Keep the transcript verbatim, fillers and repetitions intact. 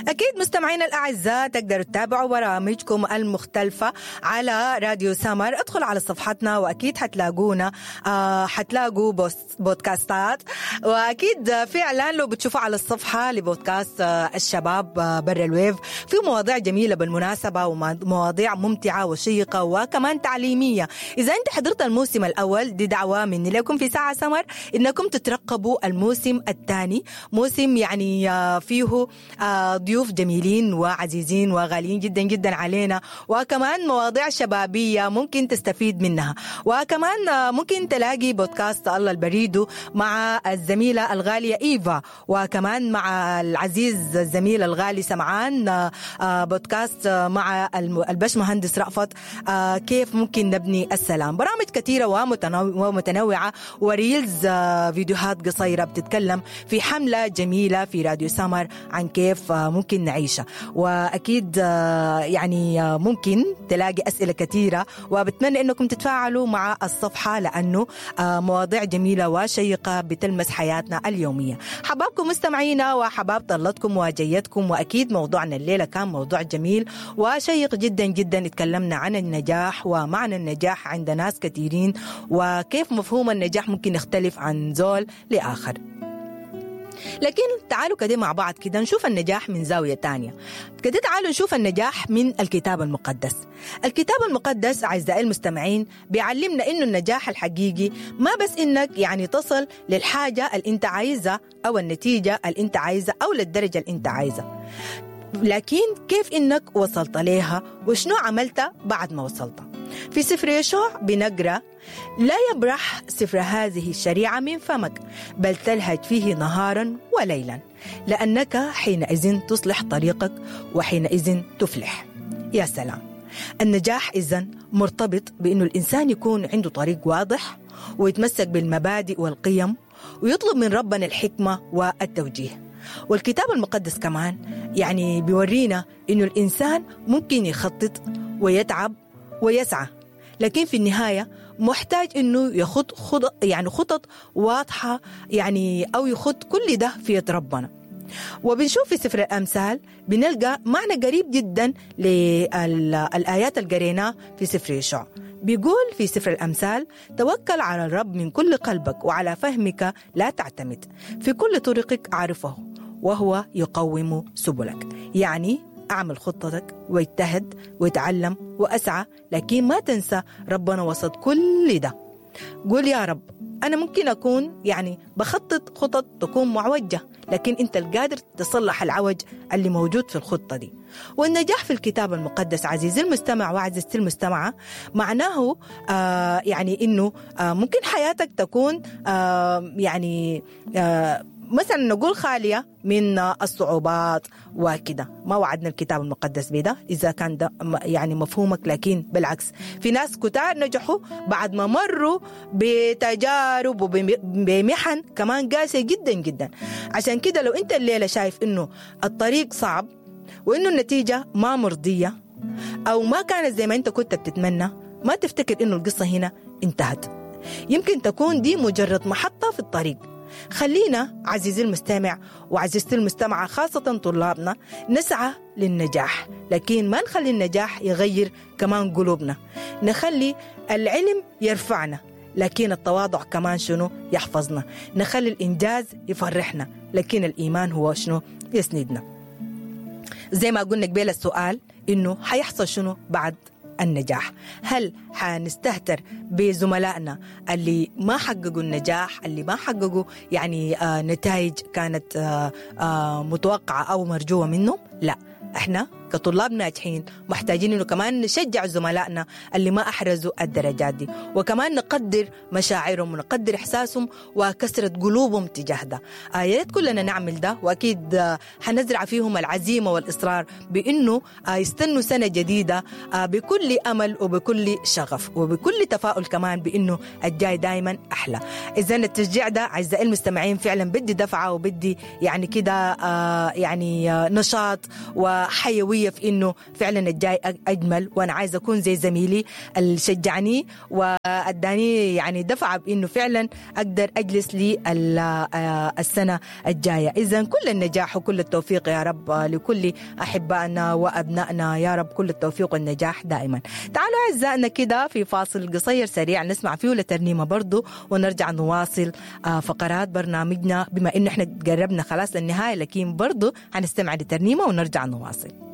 أكيد مستمعينا الأعزاء تقدروا تتابعوا برامجكم المختلفة على راديو سمر. ادخلوا على صفحتنا وأكيد حتلاقونا، آه حتلاقوا بودكاستات، وأكيد فعلا لو بتشوفوا على الصفحة لبودكاست آه الشباب آه برا الويف في مواضيع جميلة بالمناسبة ومواضيع ممتعة وشيقة وكمان تعليمية. إذا أنت حضرت الموسم الأول، دي دعوة مني لكم في ساعة سمر إنكم تترقبوا الموسم الثاني، موسم يعني آه فيه آه ضيوف جميلين وعزيزين وغاليين جدا جدا علينا، وكمان مواضيع شبابية ممكن تستفيد منها، وكمان ممكن تلاقي بودكاست الله البريدو مع الزميلة الغالية إيفا، وكمان مع العزيز الزميل الغالي سمعان، بودكاست مع البشمهندس رأفت كيف ممكن نبني السلام. برامج كثيرة ومتنوعة و reels، فيديوهات قصيرة بتتكلم في حملة جميلة في راديو سمر عن كيف ممكن نعيشها، وأكيد يعني ممكن تلاقي أسئلة كثيرة، وبتمنى أنكم تتفاعلوا مع الصفحة لأنه مواضيع جميلة وشيقة بتلمس حياتنا اليومية. حبابكم مستمعينا وحباب طلتكم وجيتكم، وأكيد موضوعنا الليلة كان موضوع جميل وشيق جدا جدا. اتكلمنا عن النجاح ومعنى النجاح عند ناس كثيرين، وكيف مفهوم النجاح ممكن يختلف عن زول لآخر. لكن تعالوا كده مع بعض كده نشوف النجاح من زاوية تانية. كده تعالوا نشوف النجاح من الكتاب المقدس. الكتاب المقدس أعزائي المستمعين بيعلمنا إنه النجاح الحقيقي ما بس إنك يعني تصل للحاجة اللي أنت عايزة أو النتيجة اللي أنت عايزة أو للدرجة اللي أنت عايزة، لكن كيف إنك وصلت ليها وشنو عملت بعد ما وصلت. في سفر يشوع بنقرأ: لا يبرح سفر هذه الشريعة من فمك، بل تلهج فيه نهارا وليلا، لأنك حينئذ تصلح طريقك وحينئذ تفلح. يا سلام! النجاح إذن مرتبط بأنه الإنسان يكون عنده طريق واضح ويتمسك بالمبادئ والقيم ويطلب من ربنا الحكمة والتوجيه. والكتاب المقدس كمان يعني بيورينا إنه الإنسان ممكن يخطط ويتعب ويسعى، لكن في النهاية محتاج إنه يخط خط يعني خطط واضحة، يعني أو يخط كل ده في يد ربنا. وبنشوف في سفر الأمثال بنلقى معنى قريب جدا للآيات اللي قريناها في سفر يشوع. بيقول في سفر الأمثال: توكل على الرب من كل قلبك وعلى فهمك لا تعتمد، في كل طرقك عارفه وهو يقوم سبلك. يعني أعمل خطتك واجتهد واتعلم وأسعى، لكن ما تنسى ربنا وسط كل ده. قول يا رب أنا ممكن أكون يعني بخطط خطط تكون معوجة، لكن أنت القادر تصلح العوج اللي موجود في الخطة دي. والنجاح في الكتاب المقدس عزيزي المستمع وعزيزتي المستمعة معناه آه يعني إنه آه ممكن حياتك تكون آه يعني آه مثلا نقول خالية من الصعوبات وكده. ما وعدنا الكتاب المقدس بده إذا كان ده يعني مفهومك، لكن بالعكس في ناس كتار نجحوا بعد ما مروا بتجارب وبمحن كمان قاسية جدا جدا. عشان كده لو أنت الليلة شايف إنه الطريق صعب وإنه النتيجة ما مرضية أو ما كانت زي ما أنت كنت بتتمنى، ما تفتكر إنه القصة هنا انتهت. يمكن تكون دي مجرد محطة في الطريق. خلينا عزيزي المستمع وعزيزتي المستمعة خاصة طلابنا نسعى للنجاح، لكن ما نخلي النجاح يغير كمان قلوبنا. نخلي العلم يرفعنا، لكن التواضع كمان شنو يحفظنا. نخلي الإنجاز يفرحنا، لكن الإيمان هو شنو يسندنا. زي ما قلنا قبل السؤال إنه حيحصل شنو بعد النجاح؟ هل حنستهتر بزملائنا اللي ما حققوا النجاح، اللي ما حققوا يعني آه نتائج كانت آه آه متوقعة أو مرجوة منهم؟ لا، احنا كطلاب ناجحين محتاجين انه كمان نشجع زملائنا اللي ما احرزوا الدرجات دي، وكمان نقدر مشاعرهم ونقدر احساسهم وكسرة قلوبهم تجاه ده. آه يا ريت كلنا نعمل ده، واكيد آه حنزرع فيهم العزيمه والاصرار بانه آه يستنوا سنه جديده آه بكل امل وبكل شغف وبكل تفاؤل كمان بانه الجاي دائما احلى. اذا التشجيع ده اعزائي المستمعين فعلا بدي دفعه وبدي يعني كده آه يعني آه نشاط وحيويه قوية في إنه فعلا الجاي أجمل، وأنا عايزة أكون زي زميلي اللي شجعني وأداني يعني دفعة بإنه فعلا أقدر أجلس للسنة الجاية. إذا كل النجاح وكل التوفيق يا رب لكل أحبائنا وأبنائنا، يا رب كل التوفيق والنجاح دائما. تعالوا أعزائنا كده في فاصل قصير سريع نسمع فيه لترنيمة برضو ونرجع نواصل فقرات برنامجنا، بما إنه إحنا قربنا خلاص للنهاية، لكن برضو هنستمع لترنيمة ونرجع نواصل.